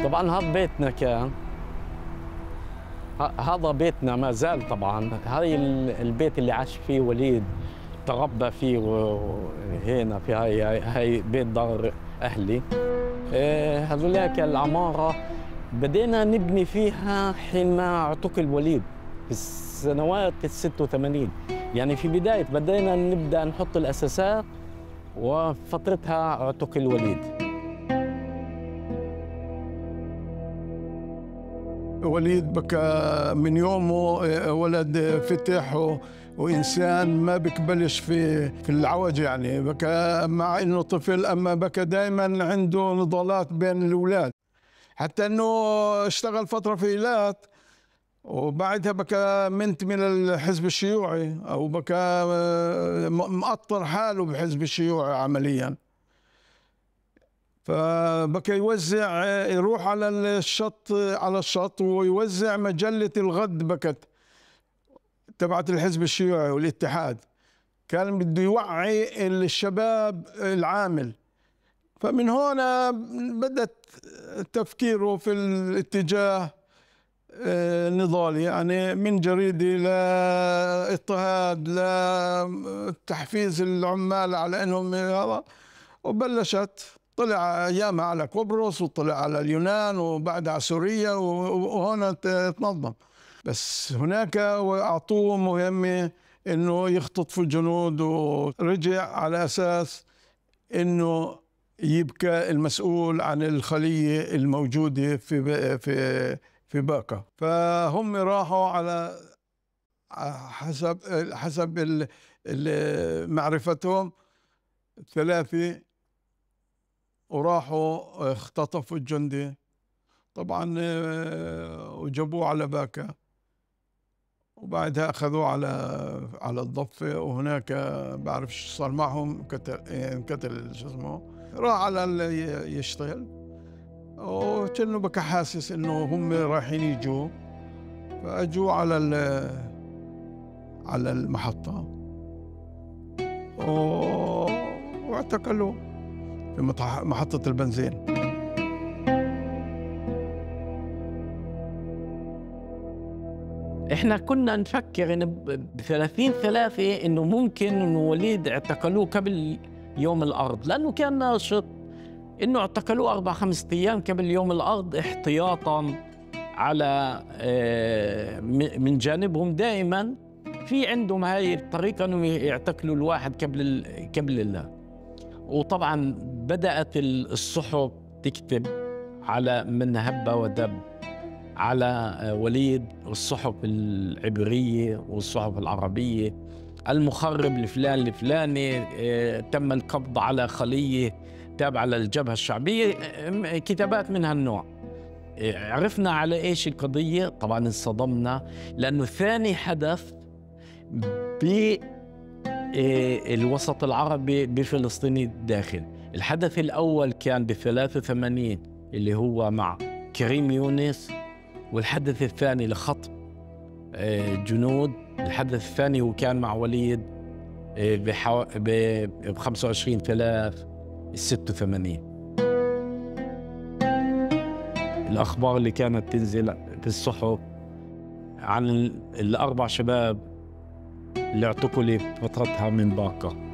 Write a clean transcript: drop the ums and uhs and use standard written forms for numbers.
طبعا هذا بيتنا كان، هذا بيتنا ما زال. طبعا هاي البيت اللي عاش فيه وليد، تربى فيه هنا في هاي بيت دار اهلي. هذولاك العماره بدينا نبني فيها حينما اعتقل وليد في السنوات ال86. يعني في بدينا نبدا نحط الاساسات وفترتها اعتقل وليد. وليد بكى من يومه ولد فتح وإنسان ما بيقبلش في العوج، يعني بكى مع إنه طفل، أما بكى دائما عنده نضالات بين الأولاد، حتى إنه اشتغل فترة في إيلات وبعدها بكى منتمي للحزب الشيوعي، أو بكى مقطر حاله بحزب الشيوعي عمليا. فبكى يوزع، يروح على الشط ويوزع مجلة الغد بكت تبعت الحزب الشيوعي والاتحاد، كان بده يوعي الشباب العامل. فمن هنا بدأت تفكيره في الاتجاه النضالي، يعني من جريدة لاضطهاد لتحفيز العمال على انهم هذا. وبلشت طلع ايامها على قبرص وطلع على اليونان وبعدها على سوريا وهنا تنظم. بس هناك اعطوه مهمة انه يختطفوا الجنود، ورجع على اساس انه يبقى المسؤول عن الخلية الموجودة في باكا. فهم راحوا على حسب معرفتهم 3، وراحوا اختطفوا الجندي طبعا وجابوه على باكا، وبعدها اخذوه على الضفة، وهناك بعرف شو صار معهم، انقتل شو اسمه، راح على يشتغل، وكأنه بكى حاسس انه هم رايحين يجوا، فاجوا على المحطة واعتقلوه في محطة البنزين. احنا كنا نفكر ان ب30/3 انه ممكن انه وليد اعتقلوه قبل يوم الارض، لانه كان ناشط، انه اعتقلوه 4-5 ايام قبل يوم الارض احتياطا على من جانبهم. دائما في عندهم هاي الطريقه انهم يعتقلوا الواحد قبل الله. وطبعا بدات الصحف تكتب على من هب ودب على وليد، والصحف العبرية والصحف العربية، المخرب الفلاني تم القبض على خلية تابعة للجبهة الشعبية، كتابات من هالنوع. عرفنا على إيش القضية، طبعا انصدمنا، لأنه ثاني حدث بالوسط العربي بفلسطين الداخل. الحدث الأول كان ب83 اللي هو مع كريم يونس، والحدث الثاني لخطف جنود، الحدث الثاني هو كان مع وليد ب25/3/86. الأخبار اللي كانت تنزل في الصحف عن ال4 شباب اللي اعتقلوا فترتها من باكا.